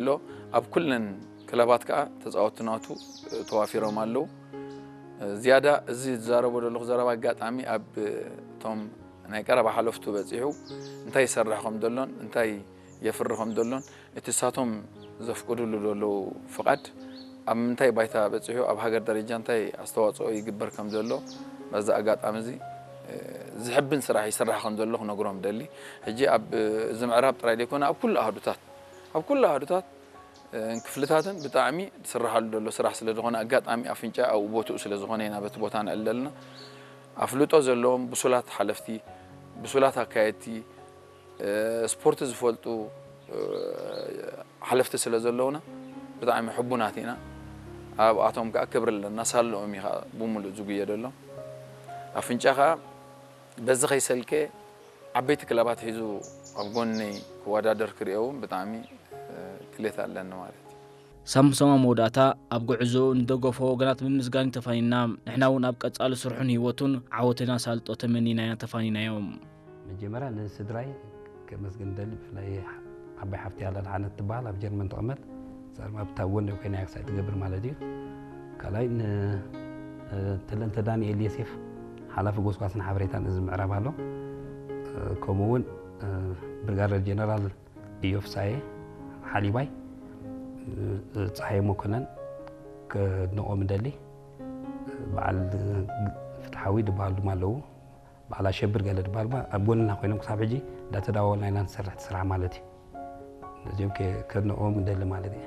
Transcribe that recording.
ኣሎ። ኣብ ኩለን ክለባት ከዓ ተፃወትቲ ናቱ ተዋፊሮም ኣለዉ። ዝያዳ እዚ ዝዛረቦ ዘለኹ ዘረባ ኣጋጣሚ ኣብ እቶም ናይ ቀረባ ሓለፍቱ በፂሑ እንታይ ይሰርሕ ከም ዘሎን እንታይ የፍሪ ከም ዘሎን እቲ እሳቶም ዘፍቅዱሉ ዘለዉ ፍቓድ ኣብ ምንታይ ባይታ በፂሑ ኣብ ሃገር ደረጃ እንታይ ኣስተዋፅኦ ይግበር ከም ዘሎ በዚ ኣጋጣሚ እዚ ዝሕብን ስራሕ ይስራሕ ከም ዘሎ ክነግሮም ደሊ። ሕጂ ኣብ እዚ ምዕራብ ጥራይ ዘይኮነ ኣብ ኩሉ ኣህዱታት ኣብ ኩሉ ኣህዱታት ክፍልታትን ብጣዕሚ ዝስራሓሉ ዘሎ ስራሕ ስለ ዝኾነ ኣጋጣሚ ኣፍንጫ ኣብኡ ቦትኡ ስለ ዝኾነ ኢና በቲ ቦታ ንዕል ዘለና። ኣፍልጦ ዘለዎም ብሱላት ሓለፍቲ፣ ብሱላት ኣካየድቲ፣ ስፖርት ዝፈልጡ ሓለፍቲ ስለ ዘለውና ብጣዕሚ ሕቡናት ኢና። ኣብኣቶም ከዓ ክብሪ ኣለና። ሳልኦም እዩ ከዓ ብምሉእ ዝጉየደሎም። ኣፍንጫ ከዓ በዚ ከይሰልከ ዓበይቲ ክለባት ሒዙ ኣብ ጎነይ ክወዳደር ክሪኦ እውን ብጣዕሚ ድሌት ኣለኒ ማለት እዩ። ሳምሶም ኣብ መወዳእታ ኣብ ጉዕዞኡ ንደገፎ ወገናት ብምምስጋን እዩ ተፋኒና። ንሕና እውን ኣብ ቀጻሊ ስርሑን ህይወቱን ዓወትን ኣሳልጦ ተመኒና ኢና ተፋኒናዮ። መጀመርያ ንስድራይ ከመስግን ደሊ፣ ብፍላይ ዓባይ ሓፍቲ ኣላ ኣድሓነት ትበሃል ኣብ ጀርመን ትቕመጥ። እዛ ድማ ኣብታ ጎኒ ኮይና እያ ክሳይ ትገብር ማለት እዩ። ካልኣይ ንተለንተ ዳንኤል ዮሴፍ ሓላፊ ጎስጓስን ሓበሬታን እዚ ምዕራብ ኣሎ። ከምኡ እውን ብርጋደር ጀነራል እዮብ ሳየ ሓሊባይ፣ ፀሃየ መኮነን ከድንቖም እንደሊ። በዓል ፍትሓዊ ዝበሃሉ ድማ ኣለዉ። በዓል ኣሸብር ገለ ዝበሃል ድማ ኣብ ጎንና ኮይኖም ክሳብ ሕጂ እንዳተዳዋወልና ኢና ንሰርሕ እቲ ስራሕ ማለት እዩ። ነዚኦም ከ- ከድንቖም እንደሊ ማለት እዩ።